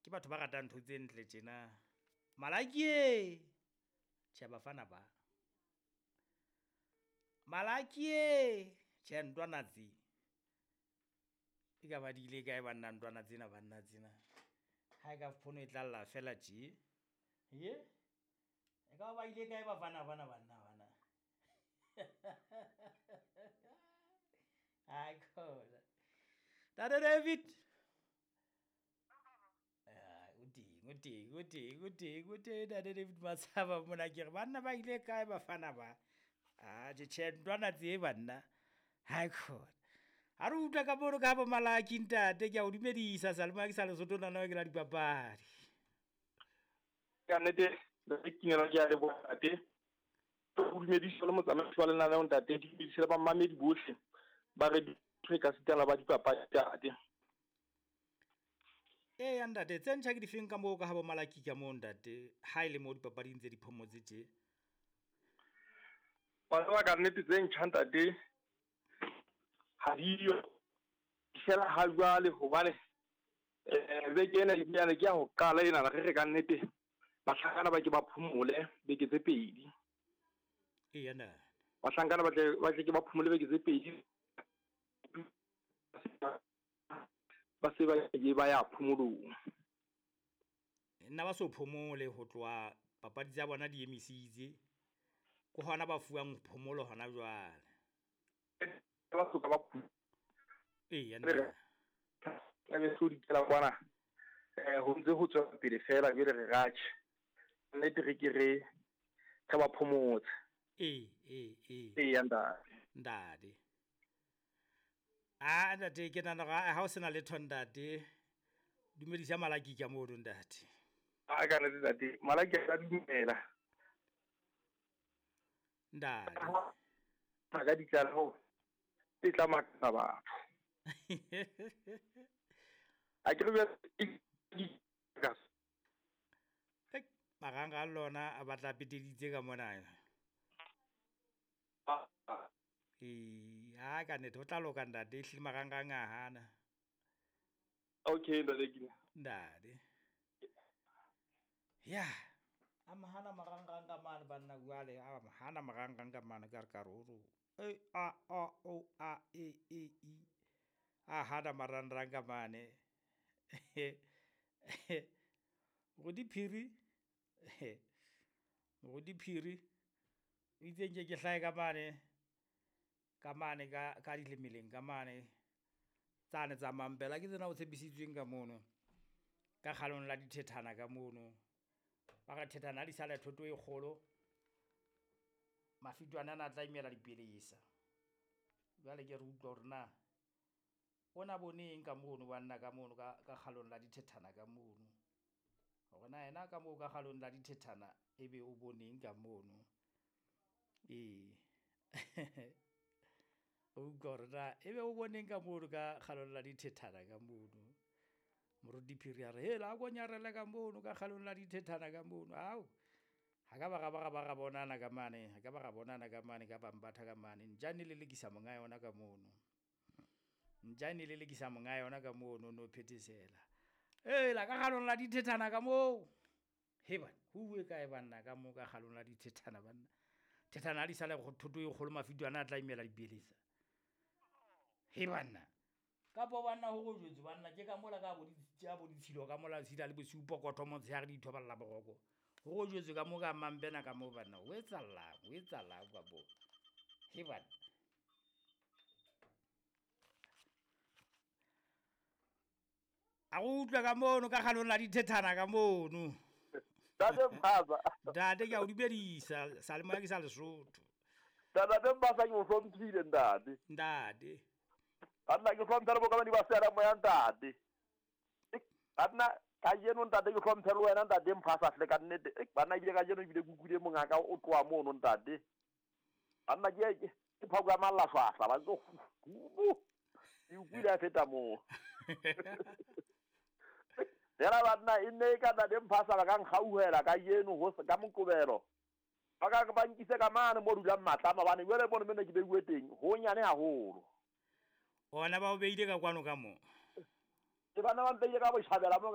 Ke batho ba ratang ntho tse ntle tjena. Malaki e! Tjhe, bafana ba. Malaki e! Tjhe, ntwana tse. E ka ba di ile kae banna ntwana tsena banna tsena. Ha e ka phone e tlalla fela tje. Ye? E ka ba ile kae bafana bana banna bana. Hai khona. Ntate David. O teng, o teng, o teng, o teng, o teng Ntate David Matshaba mona ke re banna ba ile kae bafana ba. Atjhe tjhe ntwana tse banna. Hai khona. Ha re utlwa ka mono ka bo Malaki ntate, ke a o dumedisa Salema ke sa Lesotho nana ke la dipapadi. Ka nnete re kinela ke a leboha ntate. O dumedisa le motsamaisi wa lenaneo ntate, ke dumedise le bamamedi bohle ba re ka sitana ba dipapadi ntate. Eya ntate, tse ntjha ke difeng ka moo ka ha bo Malaki ka moo ntate, ha e le mo dipapading tse di phomotse tje? Wa tseba ka nnete tse ntjha ntate ha diyo fela ha jwale, hobane beke ena ebilane ke ya ho qala ena re re ka nnete bahlankana ba ke ba phomole beke tse pedi. Eya ntate. Bahlankana ba tle ke ba phomole beke tse pedi. Ba se ba ke ba ya phomolong. Nna ba so phomole ho tloha papadi tsa bona di emisitse. Ke hona ba fuwang phomolo hona jwale. Ba soka ba Eya ntate. Tla be so dikela kwana. Ho ntse ho tswela pele fela jwale re ratjhe. Nnete re ke re ba phomotse. Ee, ee, ee. Eya ntate. Ntate. Ah ntate, ke nahana hore ha o sena letho ntate, dumedisa Malaki ka mono ntate. A ka nnete ntate, Malaki a dumela. Ntate. Ka ditlaleho tse tla makatsa batho. A ke re marangrang lona a batla peteditse ka mona. Ee, ha ka nnete ho tla loka ntate, ehlile marangrang a hana. Okay ntate Kina. Ntate. Ya, a mahana marangrang ka mane banna jwale, a mahana marangrang ka mane ka re ka roro. E A O O A E E I. A hana marangrang ka mane. Moruti Phiri. Moruti Phiri. O itse nke ke hlahe ka mane. Ka mane ka dilemeleng ka mane. Tsane tsa mampela ke tsena o tshepisitsweng ka mono. Ka kgalong la dithethana ka mono. Ba re thethana ha di sale thoto e kgolo. Mafitwane ana a tla imela dipelesa. Jwale ke re utlwa hore na ona boneng ka mono banna ka mono ka kgalong la dithethana ka mono. Hore na yena ka moo ka kgalong la dithethana ebe o boneng ka mono. Ee. O utlwa hore na ebe o boneng ka mono ka kgalong la dithethana ka mono. Moruti Phiri a re hela a ko nyarele ka mono ka kgalong la dithethana ka mono. Ao. Ha ka ba ra ba ra bonana ka mane, ha ka ba ra bonana ka mane ka bambatha ka mane. Ntjane le lekisa monga yona ka mono. Ntjane le lekisa monga yona ka mono no phethesela. Hela ka kgalong la dithethana ka moo. He bana, ho uwe kae banna ka moo ka kgalong la dithethana banna. Thethana ha di sale thoto e kgolo mafitwana a tla imela dipelesa. He banna. Kapo banna ho go jwetse banna ke ka mola ka bo ditshilo ka mola tshila le bosiu pokotho motshehare di thoballa boroko. Ho go jwetse ka mo ka mampena ka mo banna o etsalang ka bo. He banna. A go utlwa ka mono ka kgalong la dithethana ka mono. Ntate Mpasa. Ntate ke a o dumedisa Salema ke sa Lesotho. Ntate Mpasa ke o hlomphile ntate. Ntate. Banna ke hlomphe le bokamedi ba seyalemoya ntate. Banna kajeno ntate ke hlomphe le wena ntate Mphasa hle ka nnete. Banna ebile kajeno ebile ke utlwile mongaka o tloha mono ntate. Banna ke phako ya mallahlahla ba tlo ke utlwile a feta moo. Fela banna e nne e ka ntate Mphasa ba ka nkgauhela kajeno ho ka Moqebelo. Ba ka ba nkise ka mane mo dulang matlama bane jwale mono mene ke beuwe teng ho nyane haholo. Ona ba o beile ka kwano ka mo. Ke bana ba mpeile ka botjhabela mo.